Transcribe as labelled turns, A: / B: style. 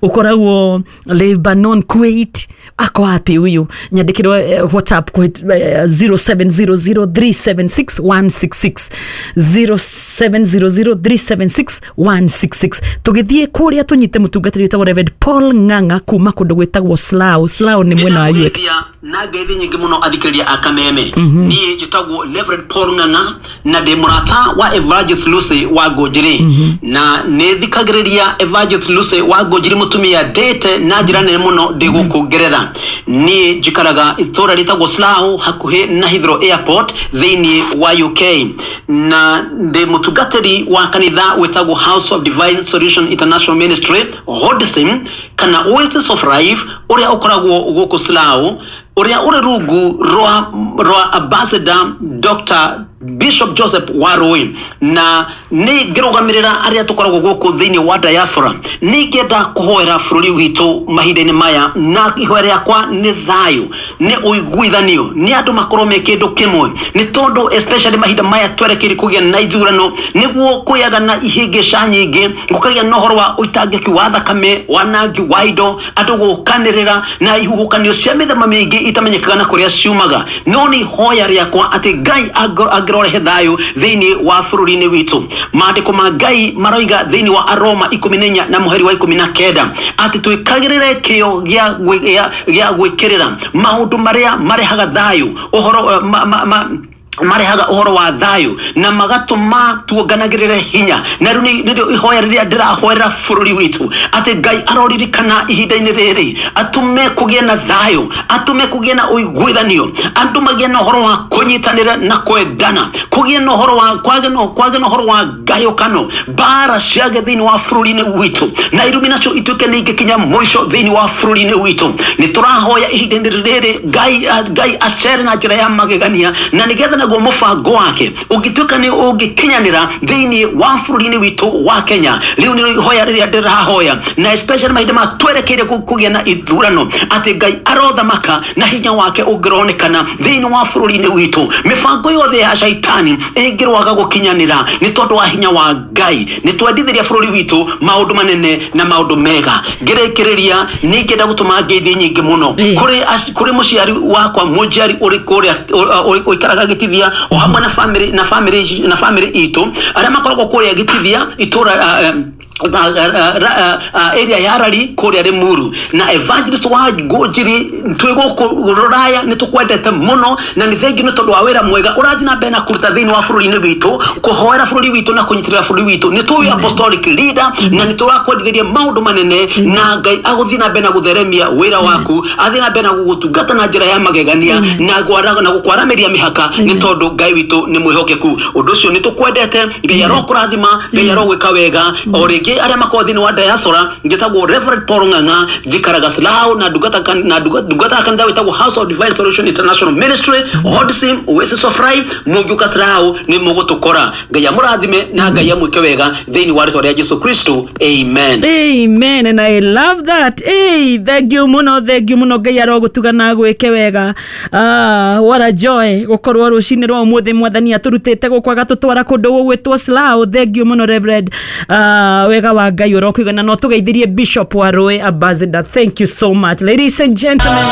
A: Ũkoragwo Lebanon, Kuwait, ako wapi huyu? Nyandĩkĩrwo WhatsApp 0700376166, 0700376166. Tũgĩthiĩ kũrĩa tũnyite mũtungatĩri wĩtagwo Reverend Paul Ng'ang'a kuma kũndũ gwĩtagwo Slough. Slough nĩ mwena wa UK.
B: Nĩndakũgeithia na ngeithi nyingĩ mũno athikĩrĩria a Kameme. Niĩ njĩtagwo Reverend Paul Ng'ang'a na ndĩ mũrata wa Evangelist Lucy wa Ngũnjiri, na nĩ thikagĩrĩria Evangelist Lucy wa Ngũnjiri mũtumia ndĩte na njĩra nene mũno ndĩ gũkũ Ngeretha. Niĩ njikaraga itũũra rĩtagwo Slough hakuhĩ na Heathrow Airport thĩinĩ wa UK, na ndĩ mũtungatĩri wa kanitha wĩtagwo House of Divine Solution International Ministry, HODSIM, kana Oasis of Life, ũrĩa ũkoragwo gũkũ Slough, ũrĩa ũrĩ rungu rwa Ambassador Dr. Bishop Joseph Warui. Na nĩ ngĩrũgamĩrĩra arĩa tũkoragwo gũkũ thĩinĩ wa diaspora, nĩ ngĩenda kũhoera bũrũri witũ mahinda-inĩ maya, na ihoya rĩakwa nĩ thayũ, nĩ ũiguithanio, nĩ andũ makorwo me kĩndũ kĩmwe, nĩ tondũ especially mahinda maya twerekeire kũgĩa na ithurano, nĩguo kũgĩaga na ihĩngĩca nyingĩ, gũkagĩa na ũhoro wa ũitangĩki wa thakame, wanangi wa indo, andũ gũkanĩrĩra na ihuhũkanio cia mĩthemba mĩingĩ itamenyekaga na kũrĩa ciumaga. No nĩ ihoya rĩakwa atĩ Ngai angĩrorehe thayũ thĩinĩ wa bũrũri-inĩ witũ. Maandĩko ma Ngai maroiga thĩinĩ wa Aroma 14 na mũhari wa 19 atĩ twĩkagĩrĩre kĩo gĩa gwĩkĩrĩra maũndũ marĩa marehaga thayũ, ũhoro marehaga ũhoro wa thayũ na magatũma tuonganagĩrĩre hinya. Na rĩu nĩrĩo ihoya rĩrĩa ndĩrahoera bũrũri witũ, atĩ Ngai aroririkana ihinda-inĩ rĩrĩ, atũme kũgĩe na thayũ, atũme kũgĩe na ũiguithanio, andũ magĩe na ũhoro wa kũnyitanĩra na kwendana, kũgĩe na ũhoro wa kwage na ũhoro wa ngayũkano, mbara ciage thĩinĩ wa bũrũri-inĩ witũ, na irumi nacio ituĩke nĩ ingĩkinya mũico thĩinĩ wa bũrũri-inĩ witũ. Nĩ tũrahoya ihinda-inĩ rĩrĩ Ngai acere na njĩra ya magegania, na nĩgetha naguo mũbango wake ũngĩtuĩka nĩ ũngĩkinyanĩra thĩinĩ wa bũrũri-inĩ witũ wa Kenya. Rĩu nĩ ihoya rĩrĩa ndĩrahoya, na especially mahinda ma twerekeire kũgĩa na ithurano, atĩ Ngai arothamaka na hinya wake ũngĩronekana thĩinĩ wa bũrũri-inĩ witũ. Mĩbango yothe ya shaitani ĩngĩrwaga gũkinyanĩra nĩ tondũ wa hinya wa Ngai. Nĩ twendithĩria bũrũri witũ maũndũ manene na maũndũ mega. Ngĩrĩkĩrĩria, nĩ ingĩenda gũtũma ngeithi nyingĩ mũno kũrĩ mũciari wakwa mũnjiari ũrĩ kũrĩa ũikaraga Gĩtithia, o hamwe na family itũ arĩa makoragwo kũrĩa Gĩtithia itũra, area ya Rari kũrĩa Limuru. Na Evangelist wa Ngũnjiri, twĩ gũkũ rũraya nĩ tũkwendete mũno, na nĩ thengiũ nĩ tondũ wa wĩra mwega ũrathiĩ na mbere na kũruta thĩinĩ wa bũrũri-inĩ witũ, kũhoera bũrũri witũ na kũnyitĩrĩra bũrũri witũ. Nĩ tũĩ apostolic leader na nĩ tũrakwendithĩria maũndũ manene, na Ngai agũthiĩ na mbere na gũtheremia wĩra waku, athiĩ na mbere na gũgũtungata na njĩra ya magegania na gũkwaramĩria mĩhaka, nĩ tondũ Ngai witũ nĩ mwĩhokeku. Ũndũ ũcio nĩ tũkwendete. Ngai arokũrathima, Ngai arogwĩka wega. O rĩngĩ, arĩa makoragwo thĩinĩ wa diaspora, njĩtagwo Reverend Paul Ng'ang'a, njikaraga Slough na ndungataga kanitha wĩtagwo House of Divine Solution International Ministry, HODSIM, Oasis of Life. Mũngĩũka Slough nĩ mũgũtũkora. Ngai amũrathime na Ngai amwĩke wega thĩinĩ wa rĩtwa rĩa Jesu Kristo, amen.
A: Amen, and I love that. Hey, thank you muno, thank you muno. Ngai arogutuga na gwĩke wega. Ah, what a joy gukorwo rucinĩ rwa ũmũthĩ Mwathani atũrutĩte gũkũ agatũtwara kũndũ gũgwĩtwo Slough. Thank you muno, Reverend. Ah, wega wa Ngai ũrokũigana. No tũgeithirie Bishop wa Rũĩ, Ambassador. Thank you so much, ladies and gentlemen.